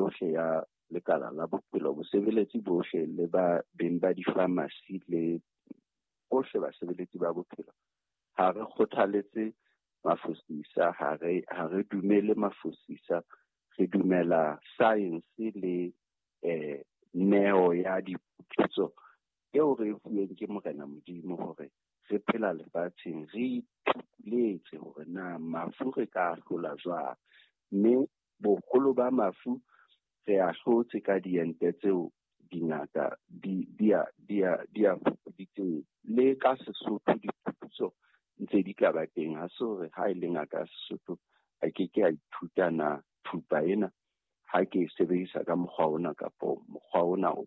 yohle ya lekala la bophelo, bosebeletsi bohle le ba beng ba di-pharmacy le bohle basebeletsi ba bophelo, ha re kgothaletse mafosisa, ha re dumele mafosisa, re dumela science le neo ya diphuputso eo re e fuweng ke Morena Modimo hore re phela lefatsheng, re ithupuletse hore na mafu re ka hlola jwang. Mme boholo ba mafu re a hlotse ka diente tseo dingaka di a fupuditseng. Le ka Sesotho diphuputso ntse di ka ba teng. Ha se hore ha e le ngaka ya Sesotho a ke ke a ithuta na thupa ena ha ke e sebedisa ka mokgwa ona kapo mokgwa ona o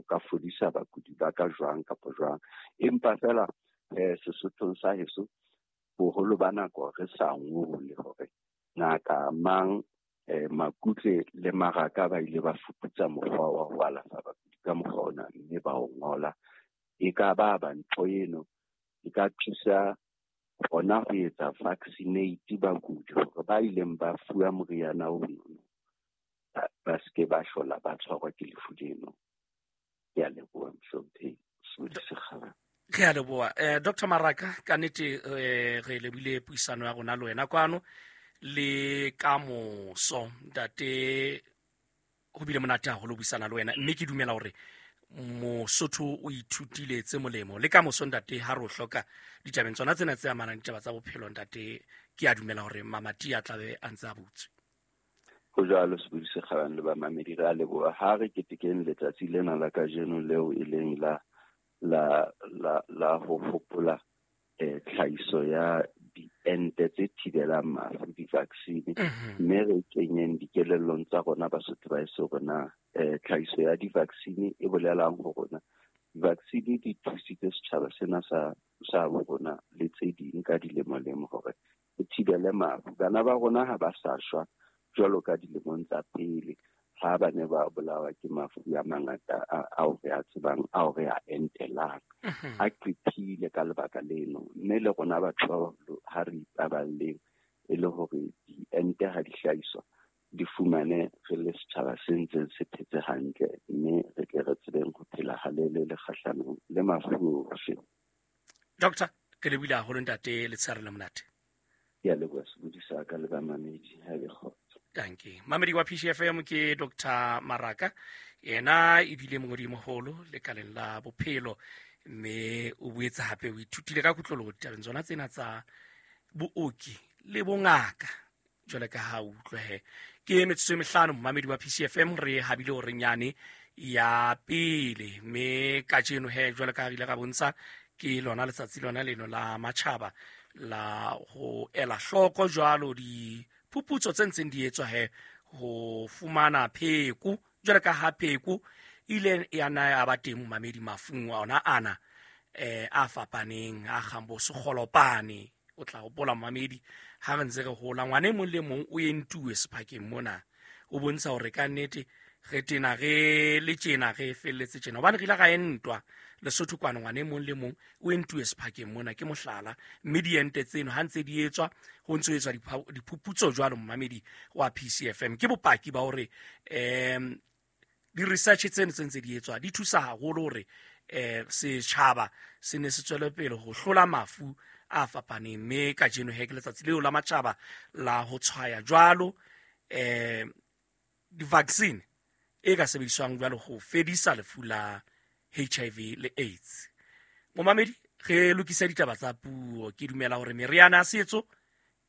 ka fodisa bakudi ba ka jwang kapo jwang. Empa fela Sesothong sa heso boholo ba nako re sa ngole hore ngaka mang Makutle le Maraka ba ile ba fuputsa mokgwa wa ho alafa bakudi ka mokgwa ona mme ba o ngola. E ka ba ba ntho eno e ka thusa hona ho etsa vaccinate bakudi hore ba ileng ba fuwa moriana ono ba seke ba hlola ba tshwarwa ke lefu leno. Ke a leboha mohlomphehi Sebodi Sekgabane. Re a leboha. Dr. Maraka, ka nnete re lebile puisano ya rona le wena kwano le ka moso. Ntate, ho bile monate haholo ho buisana le wena, mme ke dumela hore Mosotho o ithutile tse molemo. Le ka moso ntate, ha re o hloka ditabeng tsona tsena tse amanang ditaba tsa bophelo ntate, ke a dumela hore mamati a tlabe a ntse a butswe. Ho jwalo Sebodi Sekgabane le bamamedi, re a leboha. Ha re ketekeng letsatsi lena la kajeno leo e leng la la la la ho hopola tlhahiso ya diente tse thibelang mafu, di-vaccine, mme re kenyeng dikelellong tsa rona Basotho ba heso hore na tlhahiso ya di-vaccine e bolelang ho rona. Di-vaccine di thusitse setjhaba sena sa bo rona le tse ding ka dilemo-lemo hore re thibele mafu. Bana ba rona ha ba sa shwa jwalo ka dilemong tsa pele ha ba ne ba bolawa ke mafu a mangata ao re a tsebang, ao re a entelang. A qephile ka lebaka leno, mme le rona batho ba baholo ha re ipaballeng e le hore diente ha di hlahiswa di fumane re le setjhaba se ntseng se phetse hantle, mme re tle re tsebeng ho phela halelele kgahlanong le mafu ohle. Doctor, ke lebohile haholo ntate, letshehare le monate. Ke a leboha Sebodi sa ka le bamamedi, ha e be kgotso. Danke. Mamedi wa PCFM ke Dr. Maraka, yena ebile mongodi moholo lekaleng la bophelo, mme o boetse hape o ithutile ka kutlolo ditabeng tsona tsena tsa booki le bongaka jwale ka ha o utlwe he. Ke metsotso e mehlano momamedi wa PCFM, re habile hore nyane ya pele, mme kajeno he jwale ka ha re ile ra bontsha ke lona letsatsi lona leno la matjhaba la ho ela hloko jwalo diphuputso tse ntseng di etswa he ho fumana pheko, jwale ka ha pheko ile ya na ya ba teng momamedi mafung a ona ana a fapaneng a kgang bo sekgolopane. O tla hopola momamedi ha re ntse re hola, ngwana e mong le mong o entuwe sephakeng mona, o bontsha hore ka nnete re tena re le tjena re felletse tjena, hobane re ile ra entwa Lesotho kwana, ngwana e mong le mong o entuwe sephakeng mona, ke mohlala. Mme diente tseno ha ntse di etswa, ho ntse ho etswa diphuputso jwalo momamedi wa PCFM, ke bopaki ba hore di-research tseno tse ntse di etswa di thusa haholo hore setjhaba se ne se tswele pele ho hlola mafu a fapaneng. Mme kajeno he ke letsatsi leo la matjhaba la ho tshwaya jwalo di-vaccine e ka sebediswang jwalo ho fedisa lefu la HIV le AIDS. Momamedi, re lokise ditaba tsa puo. Ke dumela hore meriana ya setso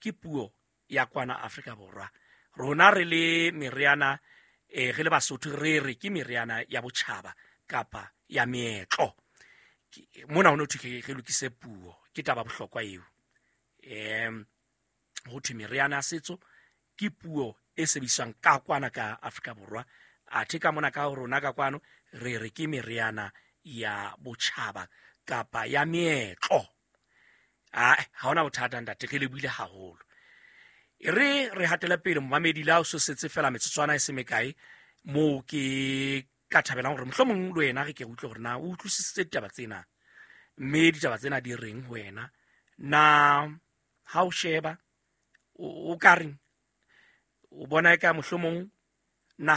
ke puo ya kwana Afrika Borwa. Rona re le meriana re le Basotho re re ke meriana ya botjhaba kapa ya meetlo. Mona ho no thwe re lokise puo, ke taba bohlokwa eo. Ho thwe meriana ya setso ke puo e sebediswang ka kwana ka Afrika Borwa, athe ka mona ka rona ka kwano re re ke meriana ya botjhaba kapa ya meetlo. Ha hona bothata ntate, re lebohile haholo. E re hatele pele momamedi, la o so setse fela metsotswana e se mekae moo ke ka thabelang hore mohlomong le wena re ke utlwe hore na o utlwisisitse ditaba tsena, mme ditaba tsena di reng ho wena. Na ha o sheba o ka reng, o bona eka mohlomong naha